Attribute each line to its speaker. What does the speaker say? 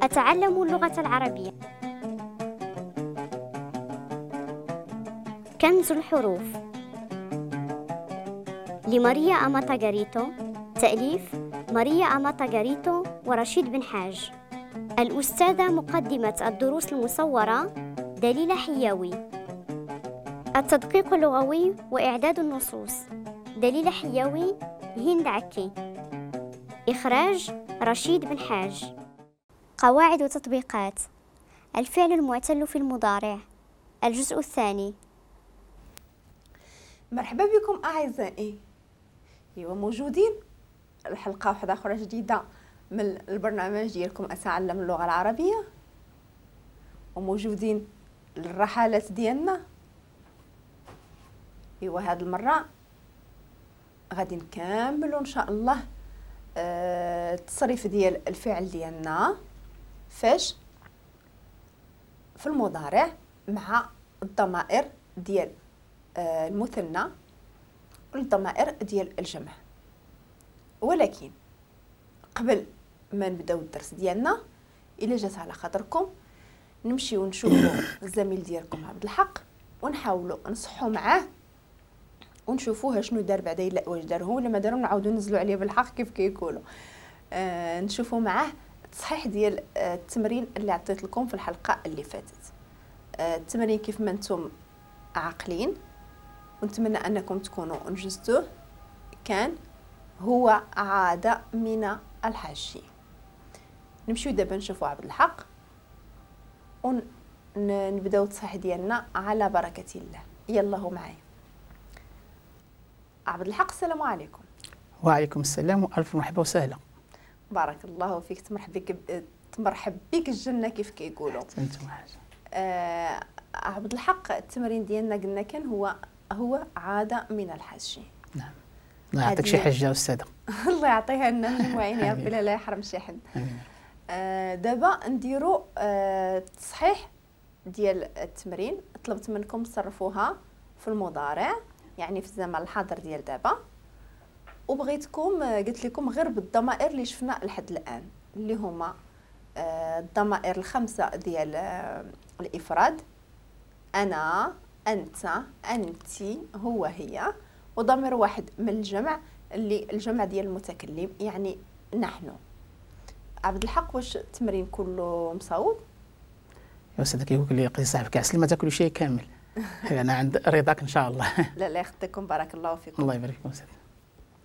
Speaker 1: أتعلم اللغة العربية. كنز الحروف لماريا أماتا غاريتو، تأليف ماريا أماتا غاريتو ورشيد بن حاج. الأستاذة مقدمة الدروس المصورة دليلة حياوي. التدقيق اللغوي وإعداد النصوص دليلة حياوي، هند عكي. إخراج رشيد بن حاج. قواعد وتطبيقات الفعل المعتل في المضارع، الجزء الثاني.
Speaker 2: مرحبا بكم أعزائي، ايوا موجودين الحلقة واحدة أخرى جديدة من البرنامج ديالكم أتعلم اللغة العربية، وموجودين الرحلات ديالنا. ايوا هاد المرة غادي نكملوا إن شاء الله التصريف ديال الفعل ديالنا فاش في المضارع مع الضمائر ديال المثنى والضمائر ديال الجمع. ولكن قبل ما نبداو الدرس ديالنا، الا جات على خاطركم نمشيو نشوفوا الزميل ديالكم عبد الحق ونحاولوا نصحوا معاه ونشوفوه شنو دار بعدا، الا واش دار هو ولا ما دارو، نعاودو ننزلوا عليه بالحق كيف كيقولوا. نشوفوا معاه التصحيح ديال التمرين اللي عطيت لكم في الحلقة اللي فاتت. التمرين كيف ما نتوم عاقلين، ونتمنى انكم تكونوا انجزتوه، كان هو عاد من الحج. نمشيو دابا نشوفوا عبد الحق ونبداو التصحيح ديالنا على بركة الله. يلا هو معايا عبد الحق. السلام عليكم.
Speaker 3: وعليكم السلام والف مرحبا وسهلا.
Speaker 2: بارك الله فيك، تمرحب بك، تمرحب بك الجنة كيف كيقولوا.
Speaker 3: انتم حاجة.
Speaker 2: عبد الحق، التمرين ديالنا قلنا كان هو عادة من الحج.
Speaker 3: نعم، الله يعطيك شي حجه استاذه.
Speaker 2: الله يعطيها لنا مجموعين يا ربي، لا يحرم شي حد. دابا نديرو التصحيح ديال التمرين. طلبت منكم تصرفوها في المضارع، يعني في الزمن الحاضر ديال دابا، وبغيتكم قلت لكم غير بالضمائر اللي شفنا لحد الان، اللي هما الضمائر الخمسة ديال الافراد: انا، انت، انت، هو، هي، وضمير واحد من الجمع اللي الجمع ديال المتكلم يعني نحن. عبد الحق، واش التمرين كله مصوب؟
Speaker 3: يا استاذ كيقول لي قضي صاحبك عسل ما تاكلوا شيء كامل. انا عند رضاك ان شاء الله.
Speaker 2: لا لا يخطيكم، بارك الله فيكم.
Speaker 3: الله يبارك فيكم استاذ.